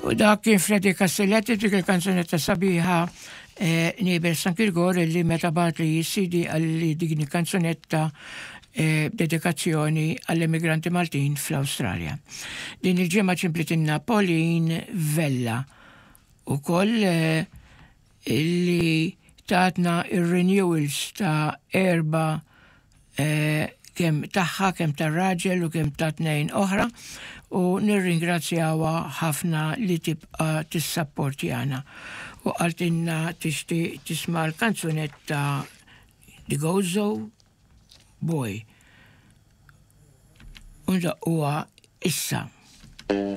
U dak kien Freddy Castelletti dik il-kanzunetta sabiħa eh, Nibel San Kirgor li meta bat li CD għalli dik kanzunetta eh, dedikazzjoni għall-immigranti Maltin fl-Awstralja. Din il-ġimgħa ċimplitinna Pauline Vella u koll eh, illi tatna ir-renewals ta' erba eh, kemm tagħha, kemm tar-raġel u kemm ta' tnejn oħra u nirringrazzjawha ħafna li tibqa' tissapportjana. U qaltilna tixtieq tisma' l-kanzunetta The Gozo Boy. U ndaqquha issa.